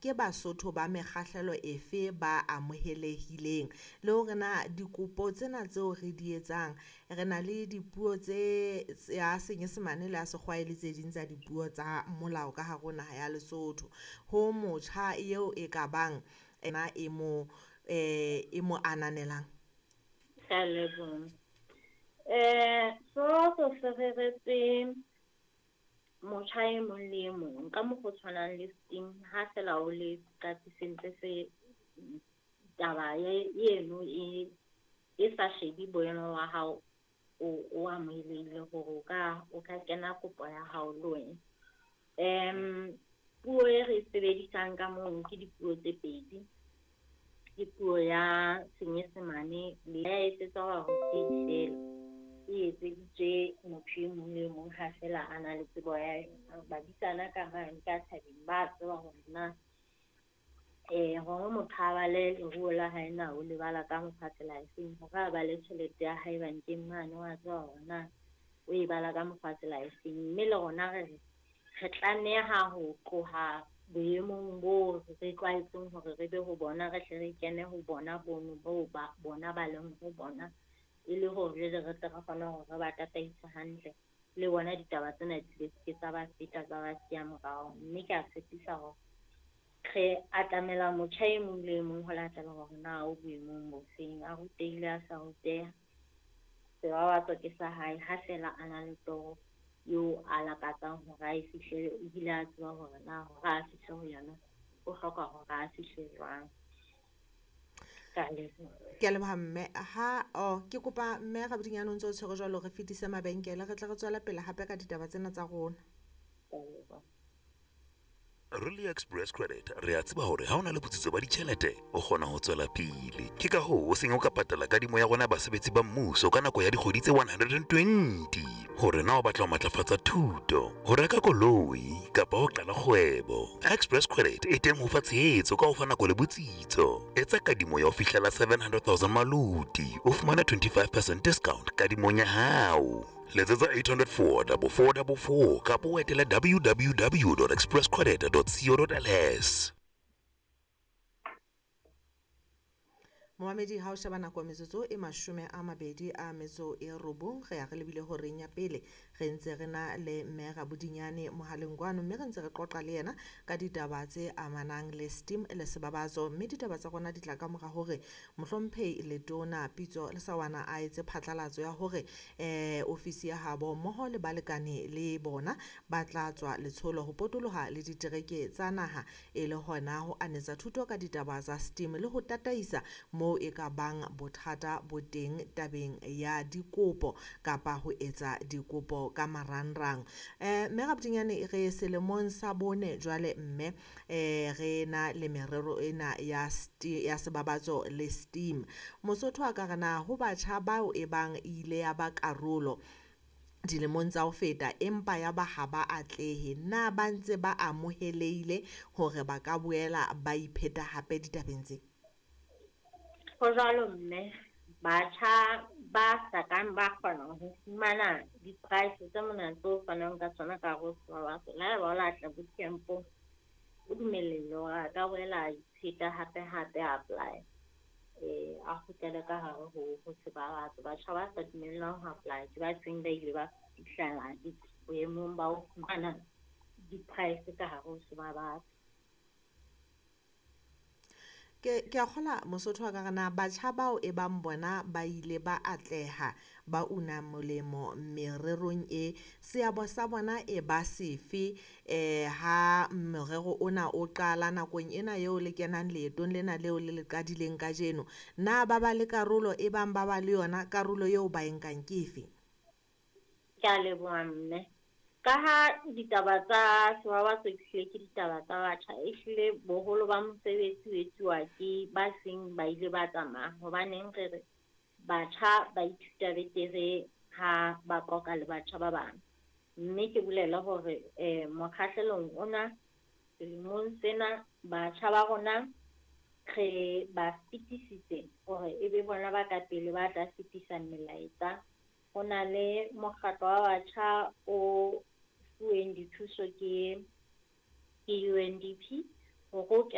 Ke Basotho ba mekgahlelo efe ba amohelehileng, le hore na dikopo tsena tseo re di etsang re na le dipuo tse ya Senyesemane le ya Sekgowa le tse ding tsa dipuo tsa molao ka hare ho naha ya Lesotho. Ho motjha eo e ka bang ena e mo e mo ananelang. Ke a leboha. Se reretswe motjha e mong le e mong ka mokgwa o tshwanang le steam ha fela o le se se taba eno e e sa shebe boemo ba hao o amohelehile hore o ka kena kopo ya hao le wena. Puo e re e sebedisang ka mono ke dipuo tse pedi. Ke puo ya Senyesemane le ha ya etsetswa barutehi fela. E etseditswe motho e mong le mong ha fela a na le tsebo ya yona. Badisana ka mane ka thabeng ba tseba hore na hore motho a bale leruo la hae na o le bala ka mokgwa tsela e feng, hore a bale tjhelete ya hae bankeng mane wa tseba hore na o e bala ka mokgwa tsela e feng. Mme le rona re re tlameha ho tloha boemong bo re tlwaetseng hore re be ho bona, re hle re kene ho bona bono boo ba bona ba leng ho bona. E le hore jwale re tle re kgone hore re ba tataise hantle. Le bona ditaba tsena di se tsa ba feta tsa ba siya morao. Mme ke a tshepisa hore re atamela motjha e mong le e mong ho latela hore na o boemong bo feng, a rutehile a sa ruteha. Sebabatso ke sa hae ha fela a na le toro eo a lakatsang hore a e fihlele ebile a tseba hore na hore a fihle ho yona o hloka hore a fihle jwang. Ke a leboha. Ke a leboha mme. Ha oh ke kopa mme Rabodinyane o ntso o tshwere jwalo re fetise mabenkele re tle re tswele pele hape ka ditaba tsena tsa rona. Ke a leboha. Rally Express Credit re a tseba hore ha o na le botsitso ba ditjhelete o kgona ho tswela pele. Ke ka hoo o seng o ka patala kadimo ya rona ya basebetsi ba mmuso ka nako ya dikgwedi tse 120. Hore na o batla ho matlafatsa thuto, ho reka koloi kapa ho qala kgwebo, Express Credit e teng ho fa tshehetso ka ho fa nako le botsitso. Etsa kadimo ya ho fihlela 700 000 maluti, o fumane 25% discount kadimong ya hao. Letsetsa 804 4444 kapa o etele www.expresscredit.co.ls. Momamedi ha o sheba nako metsotso e 29 re ya re lebile horeng ya pele re ntse re na le mme Rabodinyane mohaleng kwano mme re ntse re qoqa le yena ka ditaba tse amanang le steam le sebabatso mme ditaba tsa rona di tla ka mora hore mohlomphehi Letona Pitso Lesawana a etse phatlalatso ya hore ofisi ya habo mmoho le balekane le bona ba tla tswa letsholo ho potoloha le ditereke tsa naha e le hona ho anetsa thuto ka ditaba tsa steam le ho tataisa mo e ka bang bothata bo teng tabeng ya dikopo kapa ho etsa dikopo ka marangrang. Mme Rabodinyane re selemong sa bone jwale mme re na le merero ena ya ya sebabatso le steam. Mosotho a ka re na ho batjha bao e bang ile ya ba karolo dilemong tsa ho feta empa ya ba ha ba atlehe, na ba ntse ba amohelehile hore ba ka boela ba ipheta hape ditabeng tse? Ho jwalo mme, batjha ba sa kang ba kgona ho fumana di-price tse mona tseo fanang ka tsona ka hare ho Sebabatso. Le haeba o la tla bootcampong, o dumellehile hore a ka boela a ipheta hape hape a apply. A kgutlele ka hare ho Sebabatso. Batjha ba sa dumellwang ho apply ke ba seng ba ile ba fihlela boemong ba ho fumana di-price ka hare ho Sebabatso. Ke a kgola Mosotho wa ka re na batjha bao e bang bona ba ile ba atleha ba una molemo mererong e seabo sa bona e ba sefe ha morero ona o qala nakong ena eo le kenang leetong lena leo le le qadileng kajeno, na ba ba le karolo e bang ba ba le yona karolo eo ba e nkang ke efe? Ke a leboha mme. Ka ha ditaba tsa Sebabatso ehlile ke ditaba tsa batjha, ehlile boholo ba mosebetsi o etsuwa ke ba seng ba ile ba tsamaya. Hobaneng re re batjha ba ithuta betere ha ba qoqa le batjha ba bang. Mme ke bolele hore mokgahlelong ona selemong sena batjha ba rona re ba fetisitse hore e be bona ba ka pele ba tla fetisa melaetsa. Ho na le mokgatlo wa batjha o fuweng dithuso ke UNDP Hore o kene.